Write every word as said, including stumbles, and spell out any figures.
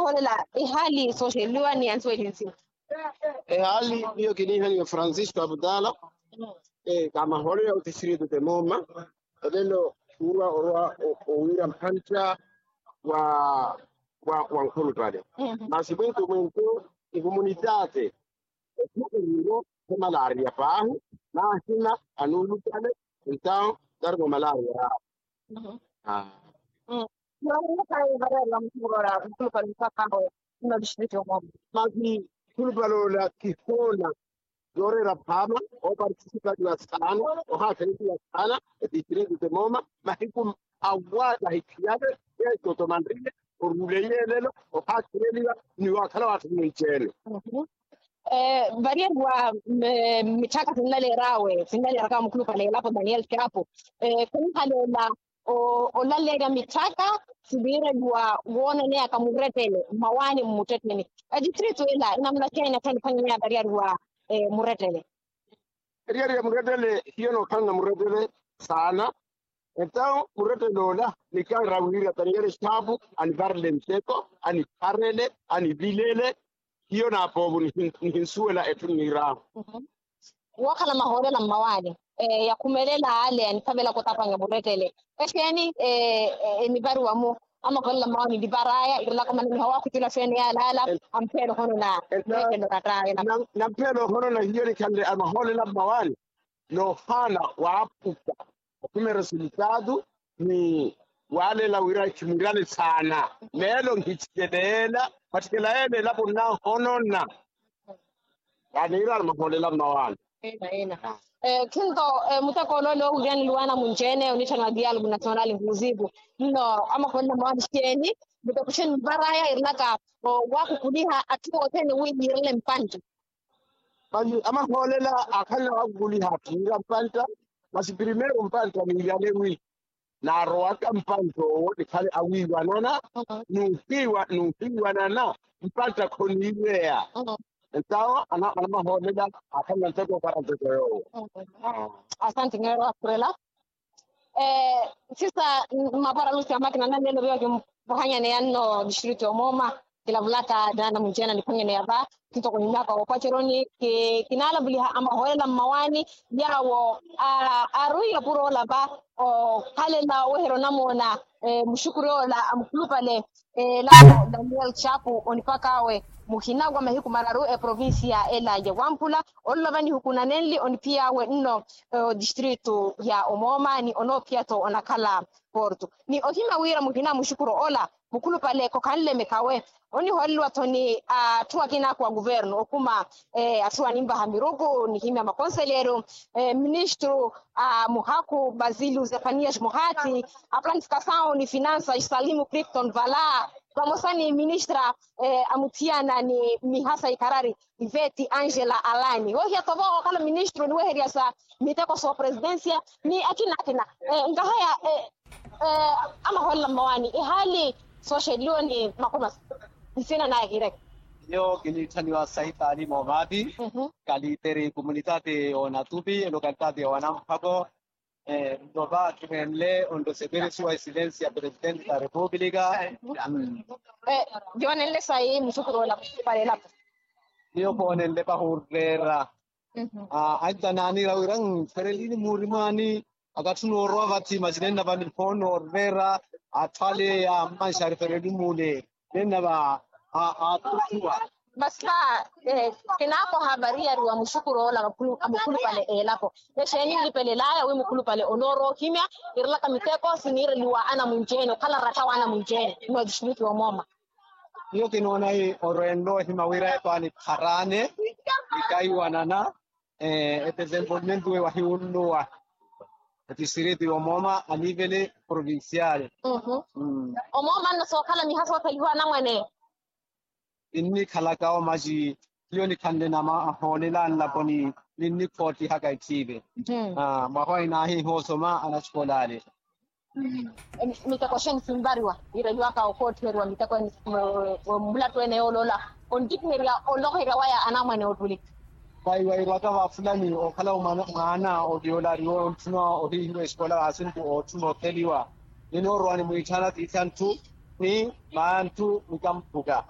Hoolela ehaali sooxeliwa ni ansuweli nsimu. Ehaali miyo kiniihaniwa francisco abdala. Kamahoolela otisirito temoma olelo, uwa orwa owira mpantta wa wa nkhulupale. Masi mwintu mwintu nkumunitaate okhukeriwo. Khemalaariya paahi, naahina anuulupale. Entaw tarimo malaariya yaawo. Masi nkhulupale ola kihoona yooreera phaama, oopartisipaliwa saana, ohaakhelipiwa saana etistritu temooma mahiku awa tahikhiyale. Yeeco tomanriye oruule yeelelo ohaakheleliwa ni waakhala waatthuni nci-ene. Variyeriwa mitthaka sinnaleer'awe sinnaleer'aka mukhulupale elapo daniel chapo. Khunihaleela olaleerya mitthaka siviireliwa woonaneyaka murettele mmawaani mmuttetteni. Etistritu ela enamuna xeeni athaniphwanyeya variyeriwa murettele? Eriyari ya murettele hiyo nookhalana murettele saana. Entaw murettele ola nikaara wiira taniyale xaapu anivarele nteko anipharele anivilele. Hiyo naapoovo nihinsuwela etthu nniir'ahu. Wookhala mahoolela mmawaani yakhumelela ale anithavelaka otapanya murettele. Exeeni enivariwa-mu? Amahoolela mmawaani nivar'aya irelaka mananiha waakhutula xeeni yaalaala. Ampheela ohonona. Nampheela ohonona hiyo nikhanle amahoolela mmawaani noohaana waaphuka okhuma eresultaatu ni waaleela wira khimwirale saana. Meelo nkhichikeleela matthikela yeela elapo nnahonona. Yaaniir'ala mahoolela mmawaani. Khinto muteko ole ole oowiryaneliwa anamunci-ene onitthana dialogo national nkuuziiku nno amahoolela mmawaani xeeni? Muteko xeeni mvar'aya irelaka waakhukuliha atthu othene wi yiirele mpantta. Masi amahoolela aakhalana waakhukuliha atthu yiira mpantta. Masi primeiro mpantta niirale wi naarowaka mpantta owo nikhale awiiwanana. Nuuhiiwanana mpantta khoniiweya. Entawo anamahoolela aakhalana nteko opara nteko yoowo. Asante ngeero akhurela. Sisa mmapara lusi amakina nanleelo viyo kimpuhanyaneya nno distritu yoomooma. Kilavulaka naana munci-ene aniphwanyaneya va. Kitoko nihimyaka woopaceroni kinaalavuliha amahoolela mmawaani yaawo aarwiiye opuro ola va okhalela oweherya onamoona. Muxukuri ola a mukhulupale elapo daniel chapu onipak'awe muhina wa mahiku mararu eprovincia ela ya wampula. Ololo va nihukunanenli oniphiy'awe nno distritu ya omooma ni onoophiya-tho onakhala porto ni ohimya wira muhina muxukuru ola mukhulupale khokhanle mekhawe. Onihooleliwa-tho ni atthu akina akhu a kuvernu okhuma atthu aninvaha miruku nihimya makonseleru ministru a muhakhu basiliu zefanias muhati a planificasawu ni finansa salimu cripton vala vamosa ni ministra a muthiyana ni miha sa ikharari iveti angela alani woohiya-tho vo ookhala ministru oniweherya sa miteko soopresidensia ni akina akina. Nkahaya amahoolela mmawaani ehaali sooxeliwe ni makhumasu nsina naya kiireke. Iyo kiniitthaniwa saitaali moovaati kaliteri kumunitaati y'onatupi elokalitati y'owanamphako. Nto va kiheenle onroseperesiwa esilensi ya presidente da repupulika. Yoonenle sayi musukuroola palelapo. Iyo koonenle pahuurreera anca naaniira wira nferelini murimwaani. Akathi noorowa vathi masi nenna va niphoona orreera atthu ale ya mmanxari fereli mule nenna va aatuthuwa. Masi va kinaakoha variyari wa muxukuroola a mukhulupale elapo exeeni nlipelelaya wi mukhulupale onoorowa ohimya irelaka miteko siniireliwa anamunci-ene okhala ratta wa anamunci-ene nwa distritu yomooma. Iyo kinoona orwenle ohima wira epaani kharaane nikaiwanana etesenvolmento we wahiwunnuwa etisiriti yomooma anivele provincial. Omooma nno sookhala miha soothelihiwa anamwane. Kinnikhalaka omaci hiyo nikhanle nama ahoolela nlaponi ninnikhootihaka ethiive. Mwaha wa inaahiiha osoma anaxikola ale. Miteko xeeni sinvariwa yiireliwaka okoothiheriwa miteko ene mulattu ene yooloola ontikiherya olokoherya waya anamwane ootulika. Vayi wayirwaka vafulani okhala mwaana oviyoolariwa ontthuna ohiihiwa esikola vaasintu ootthuna otheliwa ninoorowa nimwiitthaana tiithanthu ni maanthu nikamphuka.